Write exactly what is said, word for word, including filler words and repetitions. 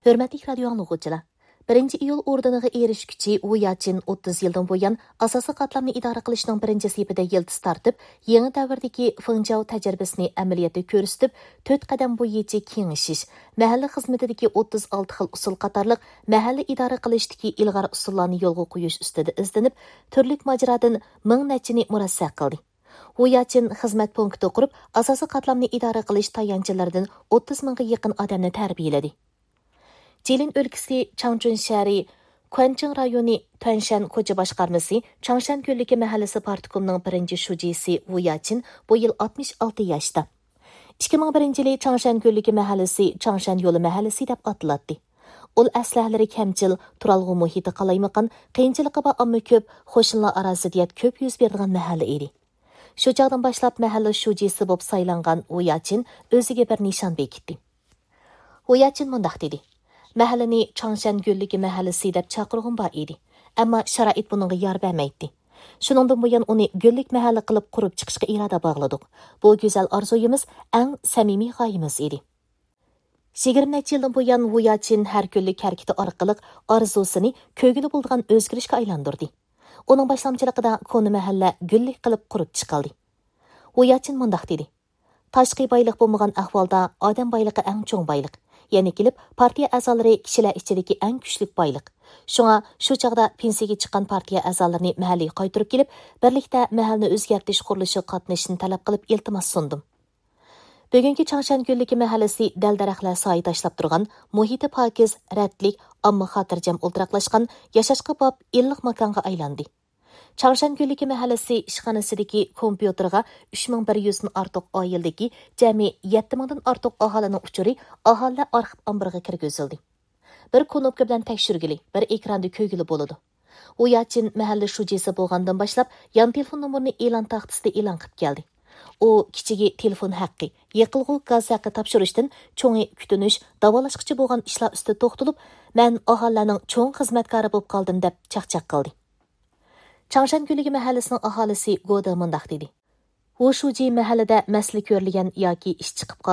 ھۆرمەتلىك رادىيو ئاڭلىغۇچىلار! بىرىنچى ئىيۇل ئوردېنىغا ئېرىشكۈچى ۋۇ ياچىن ئوتتۇز يىلدىن بۇيان ئاساسىي قاتلامنى ئىدارە قىلىشنىڭ بىرىنچى سېپىدە يىلتىز تارتىپ، يېڭى دەۋردىكى فېڭجياۋ تەجرىبىسىنى ئەمەلىيەتتە كۆرسىتىپ، تۆت قەدەم بويىچە كېڭىشىش، مەھەللە خىزمىتىدىكى ئوتتۇز ئالتە خىل ئۇسۇل قاتارلىق مەھەللە ئىدارە قىلىشتىكى ئىلغار ئۇسۇللارنى يولغا قويۇش ئۈستىدە ئىزدىنىپ، تۈرلۈك ماجىرادىن مىڭ نەچچىنى مۇرەسسە قىلدى. ۋۇ ياچىن خىزمەت پونكىتى قۇرۇپ، ئاساسىي قاتلامنى ئىدارە قىلىش تايانچلىرىدىن ئوتتۇز مىڭغا يېقىن ئادەمنى تەربىيەلىدى. جىلىن ئۆلكىسى چاڭچۈن شەھىرى كۇەنچىڭ رايونى تۈەنشەن كوچا باشقارمىسى چاڭشەن كۆللۈكى مەھەللىسى پارتكومنىڭ بىرىنچى شۇجىسى ۋۇ ياچىن بۇ يىل ئاتمىش ئالتە ياشتا. ئىككى مىڭ بىرىنچى يىلى چاڭشەن كۆللۈكى مەھەللىسى چاڭشەن يولى مەھەللىسى دەپ ئاتىلاتتى. ئۇل ئەسلىھەلىرى كەمچىل، تۇرالغۇ مۇھىتى قالايمىقان، قىيىنچىلىقى بار ئامما كۆپ، قوشنىلار ئارا زىددىيەت كۆپ يۈز بېرىدىغان مەھەللە ئىدى. شۇ چاغدىن باشلاپ مەھەللە شۇجىسى بولۇپ سايلانغان ۋۇ ياچىن ئۆزىگە بىر نىشان بېكىتتى. ۋۇ ياچىن مۇنداق دېدى: مەھەللىنى چاڭشەن گۈللۈكى مەھەللىسى دەپ چاقىرغۇم بار ئىدى. ئەمما شارائىت بۇنىڭغا يار بەرمەيتتى. شۇنىڭدىن بۇيان ئۇنى گۈللۈك مەھەللە قىلىپ قۇرۇپ چىقىشقا ئىرادە باغلىدۇق. بۇ گۈزەل ئارزۇيىمىز، ئەڭ سەمىمىي غايىمىز ئىدى. يىگىرمە نەچچە يىلدىن بۇيان ۋۇ ياچىن ھەر كۈنلۈك ھەرىكىتى ئارقىلىق ئارزۇسىنى كۆگىلى بولىدىغان ئۆزگىرىشكە ئايلاندۇردى. ئۇنىڭ باشلامچىلىقىدا كونا مەھەللە گۈللۈك قىلىپ قۇرۇپ چىقىلدى. ۋۇ ياچىن مۇنداق دېدى: تاشقى بايلىق بولمىغان ئەھۋالدا ئادەم بايلىقى ئەڭ چوڭ بايلىق. يەنە كېلىپ پارتىيە ئەزالىرى كىشىلەر ئىچىدىكى ئەڭ كۈچلۈك بايلىق. شۇڭا شۇ چاغدا پېنسىيەگە چىققان پارتىيە ئەزالىرىنى مەھەللىگە قايتۇرۇپ كېلىپ، بىرلىكتە مەھەللىنى ئۆزگەرتىش قۇرۇلۇشىغا قاتنىشىشنى تەلەپ قىلىپ ئىلتىماس سۇندۇم. بۈگۈنكى چاڭشەن كۆللۈكى مەھەللىسى دەل-دەرەخلەر سايە تاشلاپ تۇرغان، مۇھىتى پاكىز، رەتلىك، ئامما خاتىرجەم ئولتۇراقلاشقان، ياشاشقا باب ئىللىق ماكانغا ئايلاندى. چاڭشەن كۆللۈكى مەھەللىسى ئىشخانىسىدىكى كومپيۇتېرغا ئۈچ مىڭ بىر يۈزدىن ئارتۇق ئائىلىدىكى جەمئىي يەتتە مىڭدىن ئارتۇق ئاھالىنىڭ ئۇچۇرى ئاھالىلەر ئارخىپ ئامبىرىغا كىرگۈزۈلدى. بىر كۇنۇپكا بىلەن تەكشۈرگىلى، بىر ئېكراندا كۆرگىلى بولىدۇ. ۋۇ ياچىن مەھەللە شۇجىسى بولغاندىن باشلاپ، يان تېلېفون نومۇرىنى ئېلان تاختىسىدا ئېلان قىلىپ كەلدى. ئۇ كىچىكى تېلېفون ھەققى، يېقىلغۇ گاز ھەققى تاپشۇرۇشتىن چوڭى كۈتۈنۈش، داۋالاشقىچە بولغان ئىشلار ئۈستىدە توختىلىپ، مەن ئاھالىلەرنىڭ چوڭ خىزمەتكارى بولۇپ قالدىم، دەپ چاقچاق قىلدى. چاڭشەن كۆللۈكى مەھەللىسىنىڭ ئاھالىسى گودا مۇنداق دېدى: ۋۇ شۇجى مەھەللىدە مەسىلە كۆرۈلگەن ياكى ئىش چىقىپ قالغان